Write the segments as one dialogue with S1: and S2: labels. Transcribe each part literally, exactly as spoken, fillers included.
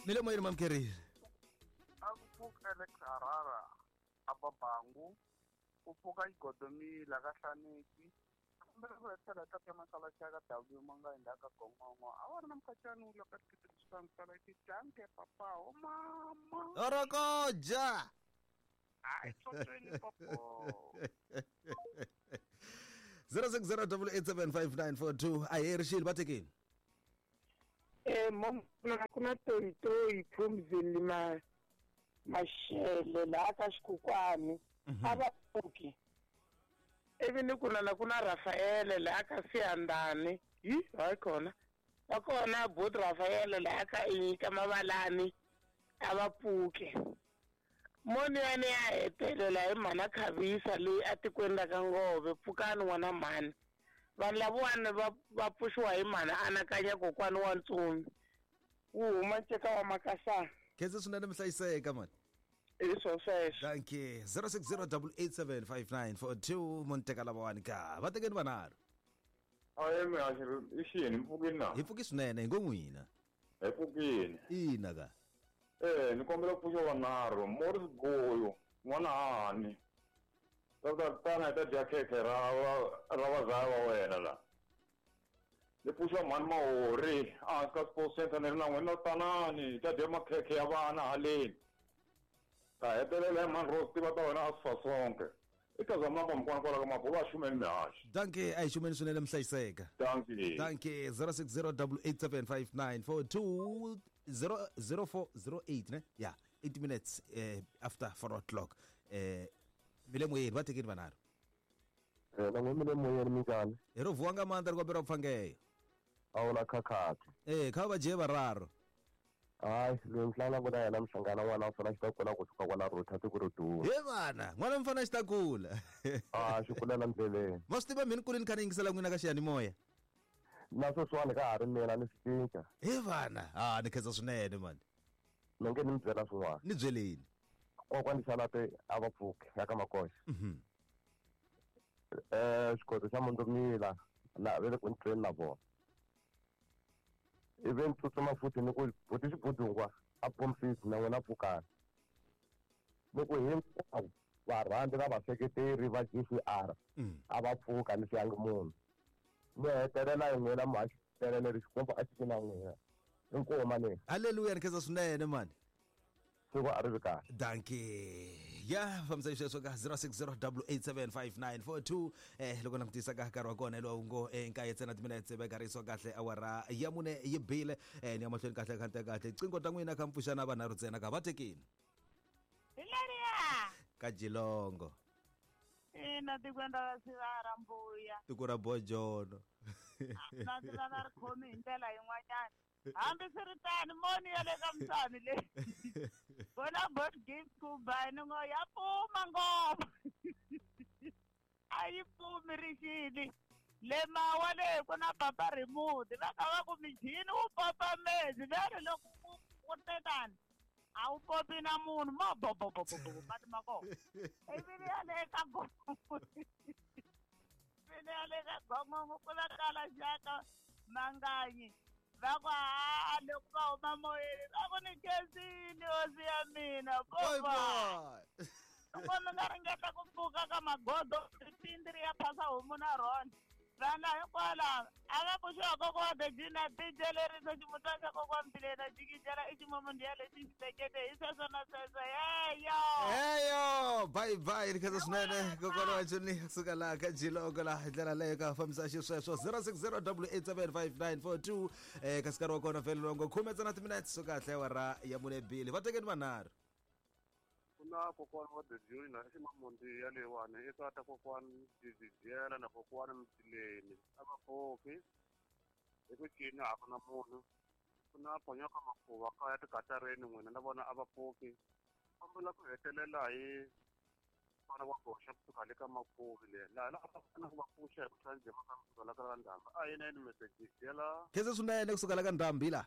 S1: Mi le moyeni mamkerile.
S2: A ku pfuka Alex Harara a Babangu ku pfuka Igodomila ka Hlaneki kombela ku hetelela ta ka masala xa ka W manga endaka gongongo a wa ri na mukachani wu loko tikitirisana ti danke papa o mama
S1: orokoja
S2: ai tsotweni popo
S1: zero six zero eight eight seven five nine four two a hi rixile va tekeni
S3: eh mom na kuna toyitoyi phumzile ma mashele la ka xikukwani a va pfuki ivi ni ku na ku na Rafaele la ka Siandani hi hayi kona va kona bot Rafaele la ka ka Mavalani a va pfuki moni ya ni ya hetelela hi mhana Khavisa leyi a tikweni ra ka Ngove pfukani n'wana mhani vanhu lavawani va va pfuxiwa hi mhana anakanya kokwani wa ntsumi wu huma nceka wa Makasana
S1: khensa swinene mi hlayiseka mani
S3: hi swo sweswo
S1: thank you zero six zero eight eight seven five nine four two monteka lavawani ka va tekeni vanharhu
S4: aye mi i xini mi pfukini na
S1: hi pfuki swinene hi ngo n'wina
S4: hi pfukini
S1: ina ka
S4: eh ni kombela ku pfuxa vanharhu Morris Goyo n'wana hani tana hi ta dya khekhe ra ra vazaya va wena la ni pfuxa mhani Mahori ehansi ka Sports Center ni ri na n'wina tanani hi ta dya makhekhe ya vana haleni ta hetelela hi mhani Rose tiva ta wena a swi fasonke i ka zwa mamba mukwana kwala ka mabho va xumeni mihaxi
S1: danke a hi xumeni swinene mi hlayiseka
S4: danke
S1: danke zero six zero eight seven five nine four two zero zero four zero eight ne yeah eight minutes eh, after four o'clock eh mi le moyeni va tekeni vanharhu
S5: eh na n'we mi le moyeni minjhani
S1: hi ro vuwa nga mandla ri kombela ku pfangeyo
S5: a wu na khakhati
S1: eh kha va jie vararu
S5: hayi loyi mi hlanganaka na yena mhlangana n'wana wa fana xi ta kula kusuka kwala rutha tiko ro duma
S1: he vana n'wana mfana xi ta kula
S5: a xi kulela ndleleni
S1: ma swi tiva mhani kuleni kha ni yingisela n'wina ka xiyanimoya
S5: na sweswiwani ka ha ri mina ni swi cinca
S1: he vana a ni khensa swinene mani
S5: mi nge ni mi byela swin'wana
S1: ni byeleni
S5: kokwani Xalate a va pfuki ya ka Makoxa eh xikoto xa Mondomila la ve le ku ntweni na vona ivi ni tsutsuma futhi ni ku buti xibudungwa a pomfisi na n'wina pfukani ni ku hinkwavo varhandzi na vaseketeri va G C R a va pfuka ni siyangi munhu mi hetelela hi n'wina muhaxi leri Xikwembu a xi na n'wina inkomu ni
S1: halleluya ni khensa swinene mani
S5: siku a ri vi kahle
S1: danke ya fambisa xisweswo ka zero six zero eight seven five nine four two eh loko langutisa ka nkarhi wa kona lowu ngo eh nkaye ntsena timinetse va karhi kahle awara ya mune yi bile eh ni ya mahlweni kahle khante kahle qingo ta n'wina kha mpfuxana vanharhu ntsena ka va tekini
S6: hi leriya
S1: ka Jilongo
S6: ina tikweni ra Sivara mbuya
S1: tiko ra Bojono
S6: na ndzi va ri khomi hi ndlela yin'wanyana hambi swi ri tano moni ya le ka mutshami leyi vona board games kuba ni ngo ya pfuma ngoma a yi pfumi rixini le mawa leyi ku na papa Rimudi va kha va ku michini wu popa mezi va ri loko ku tetani a wu popi na munhu mo bobobobobo mati ma kona ivi ya le ka gongo ivi ya le ka gongongo ku la kala xaka manganyi va ku ha loko va huma moyeni va ku ni khensile hosi ya mina bye loko mi nga ringeta ku pfuka ka magodo ripindi ri ya phasa homu na rona vana hinkwalava a va pfuxiwa kokwa Dejina tidyeleriso ximutana xa kokwa Mbilena jikijela i ximomondiya lexi xi hi sweswo na sweswo heyo
S1: heyo bye bye ni khensa swinene kokwana wa Joni kusuka laha ka Jilongo laha hi ndlela leyo ka fambisa xisweswo zero six zero eight seven five nine four two eh kasi nkarhi wa kona vhele longo khume ntsena timinetse so kahle awara ya mune bili va tekeni vanharhu
S2: ku na kokwana wa Dejoni na ximamondi ya leyiwani i tata kokwani Dididyela na kokwani Mtileni a va pfuki hi ku cina a ku na munhu ku na Ponyoka Makhuva kaya tikatareni n'wina na vona a va pfuki kombela ku hetelela hi n'wana wa goxa kusuka le ka Makhuvi le laha la a fanele ku va pfuxa hi ku tlhanjema ka kusuka la ka Ndhambi a yina yini meseji dyela
S1: khensa swinene kusuka la ka Ndhambi la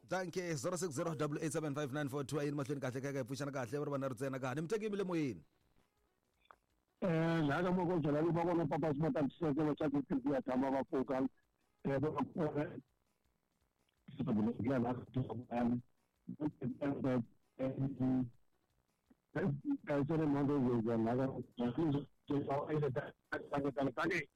S1: danke zero six zero eight seven five nine four two a yini mahlweni kahle ka ka pfuxana kahle va ri vanharhu ntsena ka ni mi tekile le moyeni
S5: eh la ka Makoxa la va kona papa swi ta msekelo xa ku ya tshama va pfuka eh va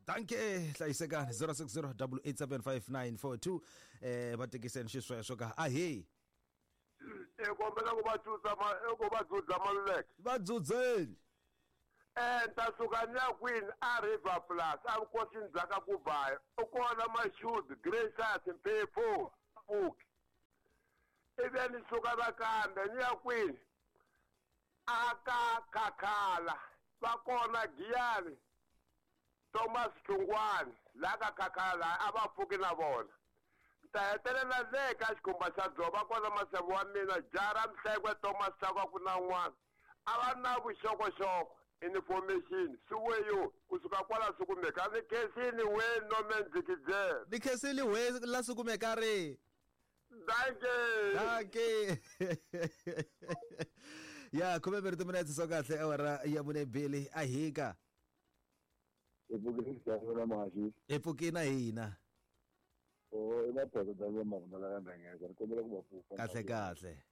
S1: Danke hlayisekani zero six zero double eight seven five nine four two eh va tekiseni xisweswo ka ahee
S2: e kombela ku va dzudza ma e ku va dzudza Maluleke
S1: va dzudzeni
S2: eh ta suka ni ya kwini a River Plus a vukosini bya ka ku baya u kona Mashudu Gracious Mphephu Puki ivi ni suka nakambe ni ya kwini aka Khakhala va kona Giyani Thomas Tlungwani la ka Khakhala a va pfuki na vona ta hetelela le ka xikhumba xa dzoba kona maseve wa mina Jara Mhlekwe Thomas Tlakwa ku na n'wana a va na vuxokoxoko information swi kusuka kwala swi kumeka ni khensini we Norman
S1: Ni khensini we la swi kumeka ri
S2: danke
S1: danke ya khume mbirhi timinetse swa kahle awara ya mune bili a hika hi pfukini na hina
S4: o i maphoto ta mavunala ka ndhangeza ni kombela ku va pfuka
S1: kahle kahle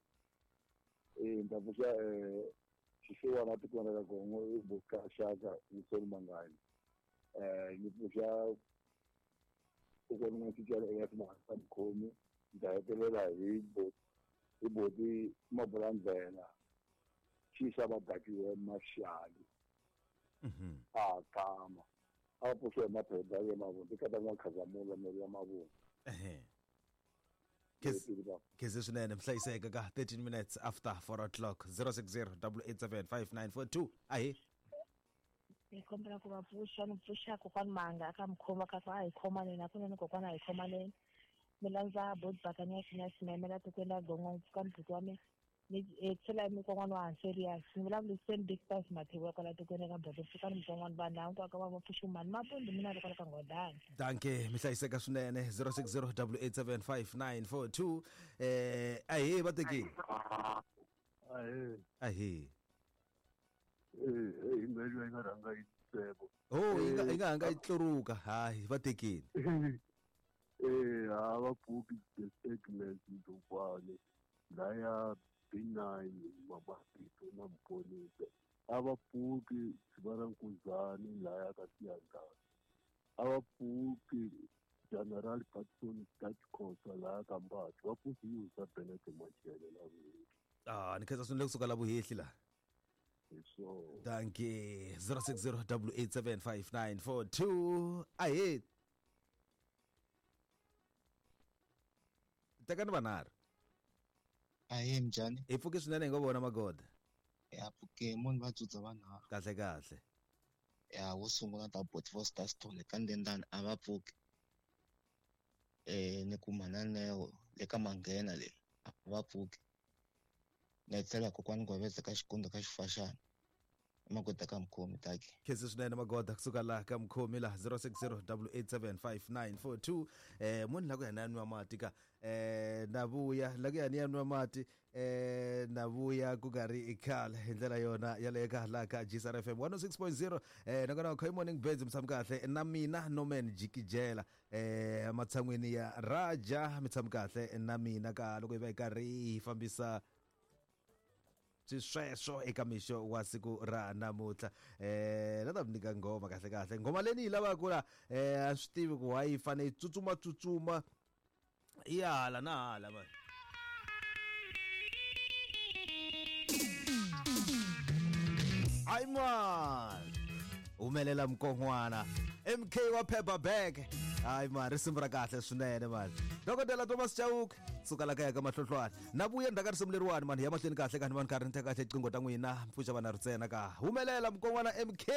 S4: e ni ta pfuxa xixuwana tikweni ra ka Gongo i Boka Xaka Wilson Mangani eh ni pfuxa kokwana N'wancityana Elias Mahasa Mkhomi ni ta hetelela hi hi boti Mabulandlela Xisa Vadakiwe Maxali a tama a pfuxiwa hi maphepha ya mavunwa ti kata n'wa miri ya mavunwa
S1: ehe Kezi swinene mhlayiseka ka thirteen minutes after four o'clock zero six zero double eight seven five nine four two ahe
S7: ni kombela ku va pfuxa ni pfuxa kokwani Manga aka Mkhoma ka a hi khomaneni hakunene kokwana a hi khomaneni mi landza bot bakani ya xina ximemela tikweni ra Gongo ka mbuti wa mina ni tlhela mi kon'wana wa Hanserius ni vulavuliseni Big Pass Mathiwa kwala tikweni ra Bodo pfuka ni mukon'wana vanhu hinkwako va va pfuxi mani mapundi mina ri kwala ka Ngodani
S1: danke mi hlayiseka swinene zero six zero double eight seven five nine four two eh ahe va tekini
S4: ahe
S1: ahe
S4: eh eh imali yi nga rhanga yi tsebo
S1: oh yi nga yi nga hanga yi tluruka hayi va tekini
S4: eh a va pfuki the statement ndukwane laya B nine Mabapito na Mponisa a va pfuki Sivara Nkuzani laya ka Siyandhani a va pfuki General Patson Khosa laya ka Mbatha va pfuki Yusa Bennett Machele la vuhehli
S1: ah ni khensa swinene kusuka la vuhehli la
S4: hi swona
S1: danke zero six zero double eight seven five nine four two ahe tekani vanharhu
S8: ahe njhani
S1: hi pfuki swinene hi ngo vona magoda
S8: ya pfuke munhu va dzudza vanharhu
S1: kahle kahle
S8: ya wo sungula ta bot Foster Sithole ka Ndendani a va pfuki eh ni kuma na Neo le ka Manghena le a va pfuki na tlhela kokwani Ngwaveza ka Xikundzu ka Xifaxana magoda ka Mkhomi taki
S1: khensa swinene magoda kusuka la ka Mkhomi la zero six zero double eight seven five nine four two eh munhu la ku ya ni ya nwa mati ka eh na vuya la ku ya ni ya nwa mati eh na vuya ku nga ri khale hi ndlela yona yaleyo ka la ka G S R F M one oh six point zero eh nakona kha morning birds mi tshami kahle na mina Norman Jikijela eh matshan'wini ya Raja mi tshami kahle na mina ka loko hi va hi karhi hi fambisa swisweswo eka mixo wa siku ra namuntlha eh na ta mi nyika nghoma kahle kahle nghoma leyi ni yi lavaka la eh a swi tivi ku why yi fanele yi tsutsuma tsutsuma yi hala na hala mani hayi mani humelela mkon'wana M K wa Pepper Bag hayi mani risimu ra kahle swinene mani Dokodela Thomas Chauke suka la kaya ka Mahlohlwana na vuya ndzhaku ka risimu leriwani mani ya mahlweni kahle kanti vanhu karhi ni teka kahle tiqingho ta n'wina mpfuxa vanharhu ntsena ka humelela mkon'wana M K.